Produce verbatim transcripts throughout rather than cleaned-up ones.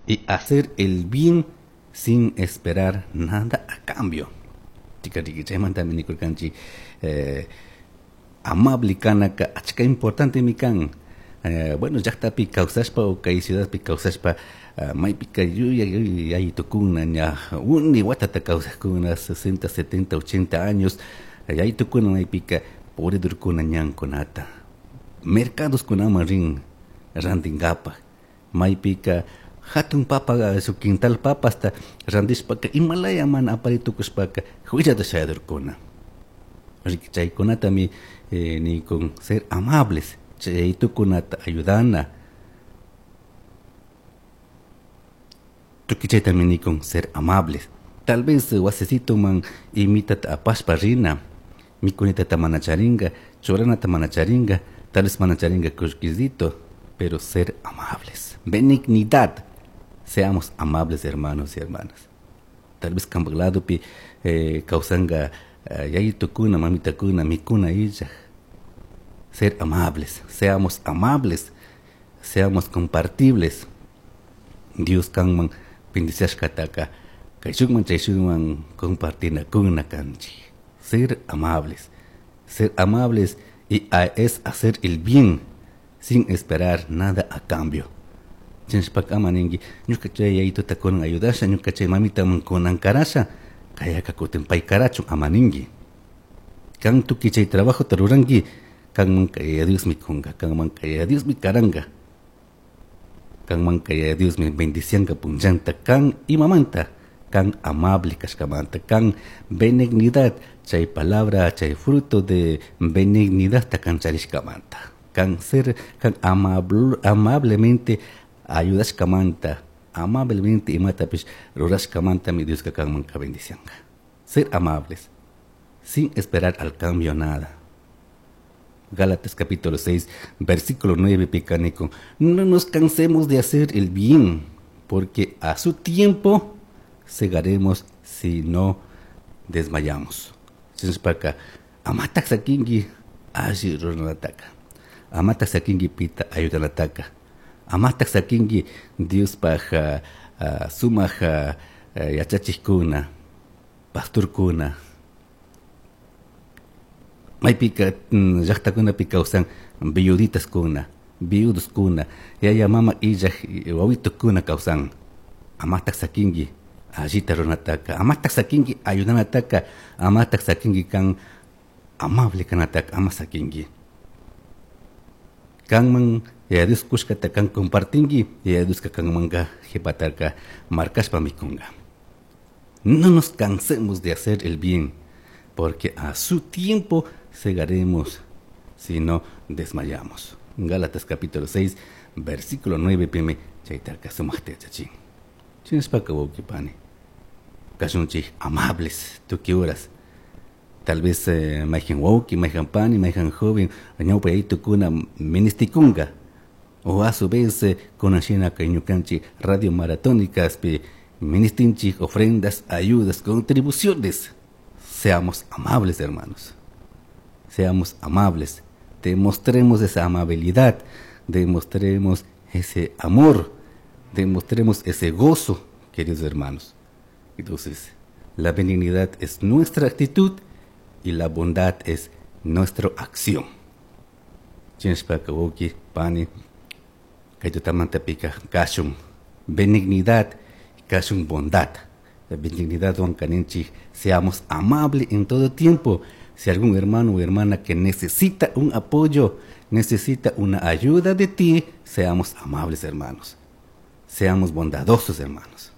Y hacer el bien sin esperar nada a cambio. Chaymantami nikurkanchik eh, amable kanaka achka importante kan. Eh, bueno, llaqtapi kawsashpa o kay ciudadpi kawsashpa uh, maypika yuya yayitukuna ña uni watata kawsakuna sesenta, setenta, ochenta años yayitukuna maypika puridurkuna ñankunata mercadoskunaman rin rantinkapaj maypika hatun papa su quintal papasta rantishpaka imalaya mana aparitukushpaka huillata shayadurkuna riki chaykunatami eh, nikun ser amables chaytukunata ayudana tukuy chaytami nikun ser amables tal vez wasisituman imitata apashpa rina mikunitata mana charinga churanata mana charinga tal vez mana charinga kullkisito pero ser amables benignidad seamos amables hermanos y hermanas tal vez kanpak ladopi eh, kawsanga eh, yayitukuna mamitakuna mikuna illaj ser amables, seamos amables, seamos compartibles. Dios kanman bendiciashkataka kayshukman chayshukman compartinakuna kanchik. Ser amables, ser amables y a, es hacer el bien sin esperar nada a cambio. Chinshpaka ama ninki ñuka chay yayituta kunan ayudasha, ñuka chay mamitaman kunan karasha, kayaka kutin pay karachun ama ninki. Kan tukuy chay trabajota ruranki, kanmanka Yaya Diosmi kunka, kanmanka Yaya Diosmi karanga, kanmanka Yaya Diosmi bendicianka punllanta, kan imamanta, kan amable kashkamanta, kan benignidad, chay palabra, chay fruto de benignidad ta kan charishkamanta, kan ser, kan amable, amablemente ayudashkamanta, amablemente imatapish rurashkamantami Dioska kanmanka bendicianka. Ser amables, sin esperar al cambio nada. Gálatas capítulo seis, versículo nueve, picanico. No nos cansemos de hacer el bien, porque a su tiempo segaremos si no desmayamos. Chinspaka, amatak sakingi, alli ruranataka. Amatak sakingi pita ayudanataka. Amatak sakingi Diospaj uh, sumaj uh, yachachikuna, pastorkuna. Maypika llaqtakunapi kawsan viuditaskuna, viudoskuna, yaya mama illaj wawitukuna kawsan. Amatak sakingi allita runataka, amatak sakingi ayudanataka, amatak sakingi kan amable kanataka, ama sakingi. Kanman Yaya Dios kushkata kan compartingi, Yaya Dioska kanmanka qhipataka markashpa mikunga. No nos cansemos de hacer el bien, porque a su tiempo segaremos si no desmayamos. Gálatas capítulo seis, versículo nueve, pime, chaytaka sumaqta yachachin. Chinashpaka wawqipani, kashunchik amables tukuy horas. Tal vez eh, mayhan wawqi, mayhan pani, mayhan joven, ñawpa yayitukuna ministikunga. O a su vez, eh, kunashina kay ñukanchik radio maratónicaspi ministinchik ofrendas, ayudas, contribuciones. Seamos amables, hermanos. Seamos amables. Demostremos esa amabilidad. Demostremos ese amor. Demostremos ese gozo, queridos hermanos. Entonces, la benignidad es nuestra actitud y la bondad es nuestra acción. Chinshpaka wawqi, pani, kaytutamanta pika, kashun benignidad, kashun bondad. La benignidad, don kaninchik, seamos amables en todo tiempo. Si algún hermano o hermana que necesita un apoyo, necesita una ayuda de ti, seamos amables, hermanos. Seamos bondadosos, hermanos.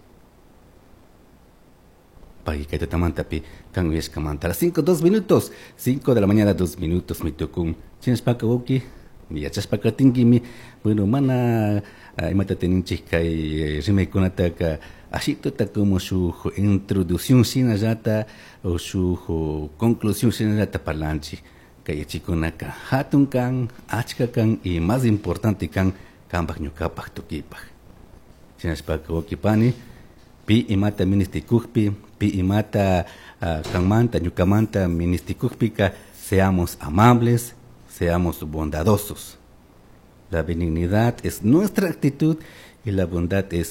Pagikaytatamanta kan uyashkamanta. A las cinco, dos minutos, cinco de la mañana, dos minutos, mi tukun. Chinshpaka wawqi, yachashpaka tinkimi, bueno, mana imata teninchik kay rimaykunataka ashituta como su introducción shinallata o su conclusión shinallata parlanchik. Kay yachikunaka hatun kan, achka kan y más importante kan kanpak ñukapak tukipaj. Shinashpaka wawqi pani, pi imata ministikukpi, pi imata uh, kanmanta, ñukamanta ministikukpika, seamos amables, seamos bondadosos. La benignidad es nuestra actitud y la bondad es